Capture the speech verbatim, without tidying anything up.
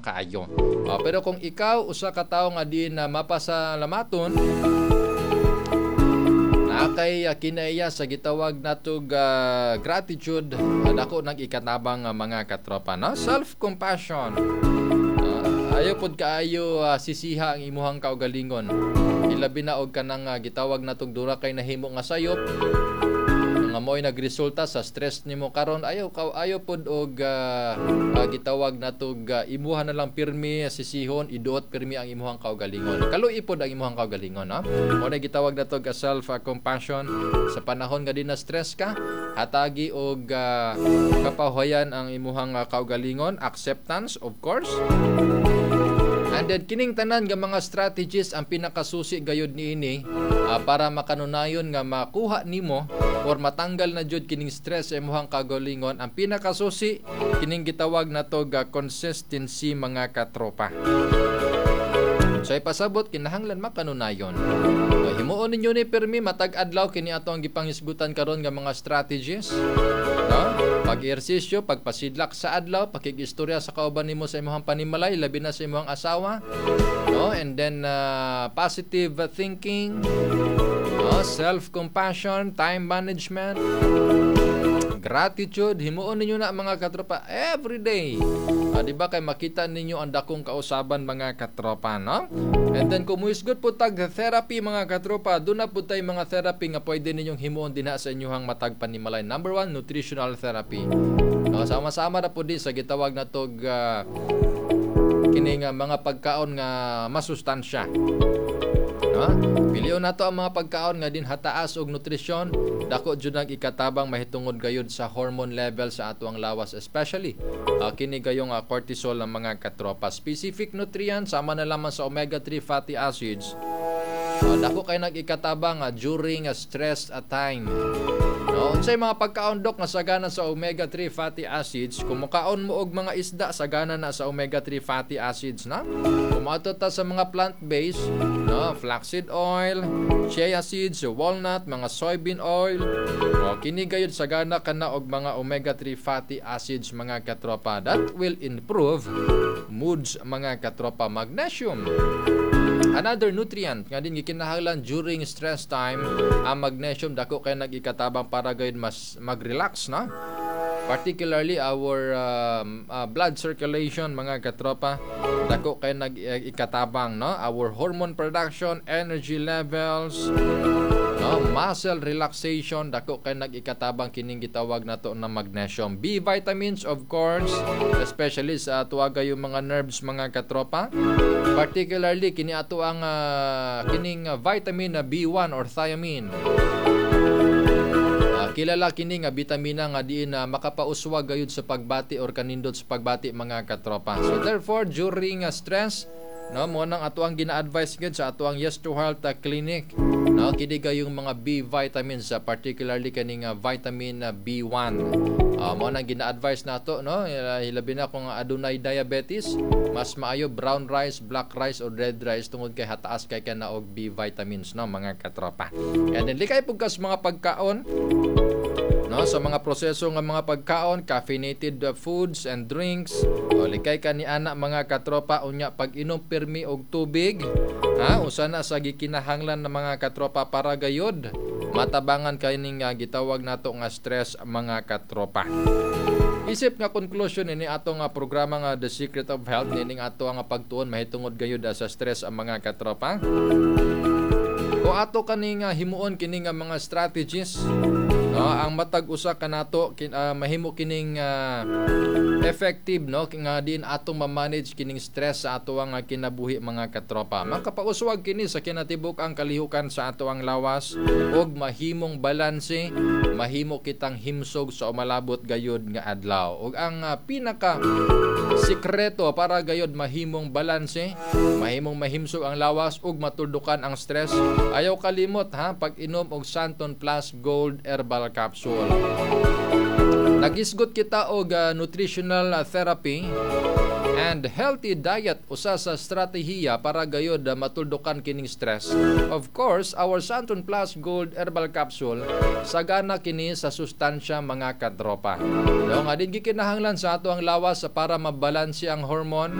kaayo. Uh, pero kung ikaw usa ka tawo nga di na mapasalamaton, naa kay uh, kinaiya sa gitawag natog uh, gratitude, uh, dako nang ikatabang uh, mga katropa, no? Self-compassion. Uh, ayaw pod kaayo uh, sisiha ang imuhang kaugalingon. Ilabi na og kanang uh, gitawag natog dura kay nahimo nga sayop nga mo'y nagresulta sa stress nimo karon. Ayaw ka, ayaw pod og uh, uh, gitawag natog uh, imuha na lang pirmi sisihon, iduot pirmi ang imuhang kaugalingon. Kaluoy pod ang imuhang kaugalingon, no? Mo na gitawag natog uh, self uh, compassion. Sa panahon nga di na stress ka, hatagi og uh, kapahuwayan ang imuhang uh, kaugalingon, acceptance, of course. And then kining tanan nga mga strategies, ang pinakasusi gayud niini uh, para makanunayon nga makuha nimo or matanggal na jud kining stress sa imong kaugalingon, ang pinakasusi kining gitawag nato ga consistency, mga katropa. So ipasabot, kinahanglan makanunayon. So, himuon ninyo ni pirmi matag adlaw kini ato ang gipanghisgutan karon nga mga strategies. No? Pag-ehersisyo, pagpasidlak sa adlaw, pakig-istorya sa kauban nimo sa imong panimalay, labi na sa imong asawa. No? And then uh, positive thinking, no? Self-compassion, time management, gratitude, himuon ninyo na, mga katropa, every day. Ah, di ba kay makita ninyo ang dakong kausaban, mga katropa, no? And then kung muhisgot po tag therapy, mga katropa, doon na po tay mga therapy nga pwede ninyong himuon dinha sa inyong matag panimalay. Number one, nutritional therapy. No, sama-sama na po din sa gitawag na tog uh, kini nga mga pagkaon nga masustansya. No? Pilion nato ang mga pagkaon nga din hataas og nutrisyon, dako jud ang ikatabang mahitungod gayud sa hormone level sa atoang lawas, especially uh, kini gayong uh, cortisol ang mga katropa. Specific nutrients sama na lamang sa omega three fatty acids. Uh, dako kay nag-ikatabang uh, during a stress a time. No, unsay mga pagkaon, dok, nga sagana sa omega three fatty acids? Kung mukaon mo og mga isda, sagana na sa omega three fatty acids na. Kung moadto ta sa mga plant-based, no, flaxseed oil, chia seeds, walnut, mga soybean oil, o kini gayud sagana kana og mga omega three fatty acids, mga katropa. That will improve moods, mga katropa. Magnesium. Another nutrient nga din gikinahanglan during stress time, ang magnesium, dako kay nag-ikatabang para gayud mas mag-relax, no? Particularly our um, uh, blood circulation, mga katropa, dako kay nag-ikatabang, no? Our hormone production, energy levels, no? Muscle relaxation, dako kay nag-ikatabang kining gitawag nato na magnesium. B vitamins, of course, especially sa atuwa yung mga nerves, mga katropa. Particularly kini ato ang uh, kining uh, vitamin na B one or thiamine. Uh, kilala kini nga bitamina nga diin na uh, makapauswag gayud sa pagbati or kanindot sa pagbati, mga katropa. So therefore, during uh, stress, no, mo nang ato ang gina-advise gyud sa ato ang Yes to Health uh, Clinic, no, kini gayong mga B vitamins, uh, particularly kaning uh, vitamin uh, B one. Uh, mo nang gina-advise nato, no, hilabi na kung adunay diabetes, mas maayo brown rice, black rice or red rice tungod kay hataas kay kana og B vitamins, no, mga katropa. And then likay pud kas mga pagkaon, no, sa mga proseso nga mga pagkaon, caffeinated foods and drinks, o likay ka ni ana, mga katropa. Unya pag-inom pirmi og tubig, ha, usa na sa gikinahanglan ng mga katropa para gayud matabangan kining uh, gitawag nato nga stress, mga katropa. Isip nga conclusion ini ato nga programa nga The Secret of Health, nining ato nga pagtuon mahitungod gayud sa stress ang mga katropa. Kung ato kani nga himuon kini nga mga strategies, no, ang matag usa kanato kin, uh, mahimo kining uh, effective, no, nga diin atong ma-manage kining stress sa atoang kinabuhi, mga katropa. Makapauswag kini sa kinatibuk ang kalihukan sa atoang lawas ug mahimong balanse, mahimo kitang himsog sa umalabot gayud nga adlaw. Ug ang uh, pinaka sikreto para gayod mahimong balanse, mahimong mahimsog ang lawas ug matuldukan ang stress, ayaw kalimot ha pag-inom og Santon Plus Gold Herbal Capsule. Nagisgot kita og uh, nutritional therapy and healthy diet, usa sa estratehiya para gayod uh, matuldukan kining stress. Of course, our Santon Plus Gold Herbal Capsule, sagana kini sa sustansya, mga katropa. No, nga din gikinahanglan sa ato ang lawas para mabalanse ang hormone.